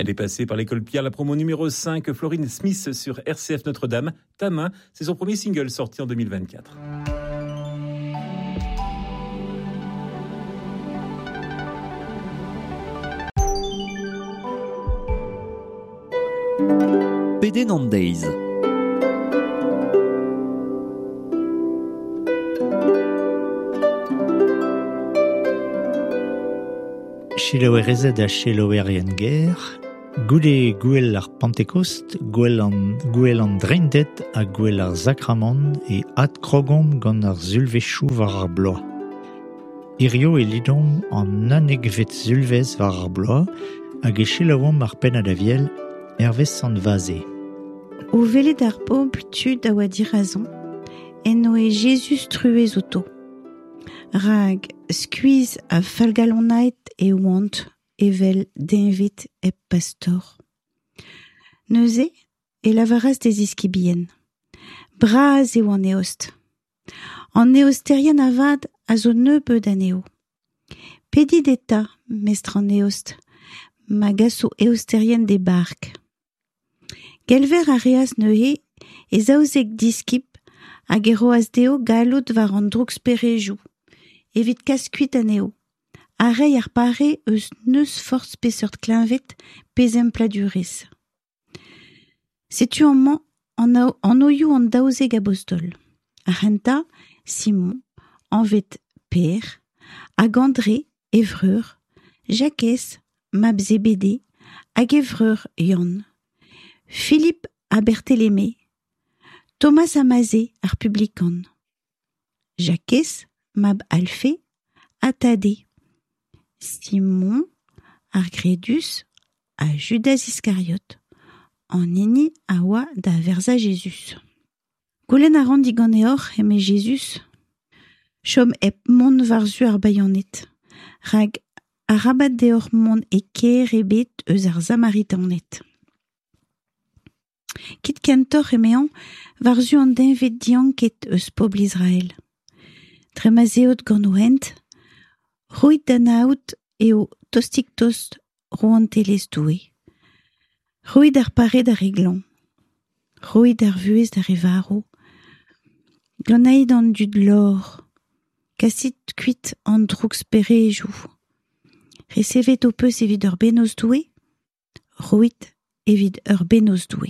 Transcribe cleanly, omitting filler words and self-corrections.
Elle est passée par l'école Pierre, la promo numéro 5, Florine Smith sur RCF Notre-Dame. Ta main, c'est son premier single sorti en 2024. Pedenn an deiz. Selaouerezed ha selaouerien ger, goude gouel ar Pentekost, gouel an, gouel an Dreinded ha gouel ar Sakramant e adkrogomp gant ar sulvezhioù war ar bloaz. Hirio e lidomp an unnekvet sulvezh war ar bloaz hag e selaouomp ar pennad aviel hervez Sant Vaze. O welet ar bobl tud a oa dirazañ, en doe Jezuz truez outo. Rak skuizh ha fallgalonaet e oant evel deñved hep pastor. Neuze e lavaras d'e ziskibien: Bras eo an eost. An eosterien avat a zo nebeut anezho. Pedit eta, mestr an eost, ma gaso eosterien d'e bark. Gelver a reas neuze e zaouzek diskib hag e roas dezho galloud war an drouksperejoù evit kas kuit anezho ha reiñ ar pare eus n'eus forzh peseurt kleñved pe zempladurezh. Setu amañ an anvioù an daouzek abostol. Ar c'hentañ, Simon, anvet Pêr, hag Andre, e vreur, Jakez, mab Zebede, hag e vreur Yann, Filip ha Berteleme, Thomas ha Maze, ar publikan, Jakez, mab Alfe, ha Tade, Simon, ar Gredus, ha Judaz Iskariot, an hini a oa da verzañ Jezuz. Goulenn a ran diganeoc'h, eme Jezuz, chom hep mont war-zu ar bayaned, rak arabat deoc'h mont e kêr ebet eus ar Samaritaned. Kit kentoc'h, emezañ, war-zu an deñved dianket eus pobl Israel. Dre ma 'z eot gant ho hent, roit da anaout eo tostik-tost rouantelezh Doue. Roit ar pare d'ar re glañv. Roit ar vuhez d'ar re varv. Glanait an dud lor. Kasit kuit an drouksperejoù. Resevet ho peus evit ur bennozh Doue? Roit evit ur bennozh Doue.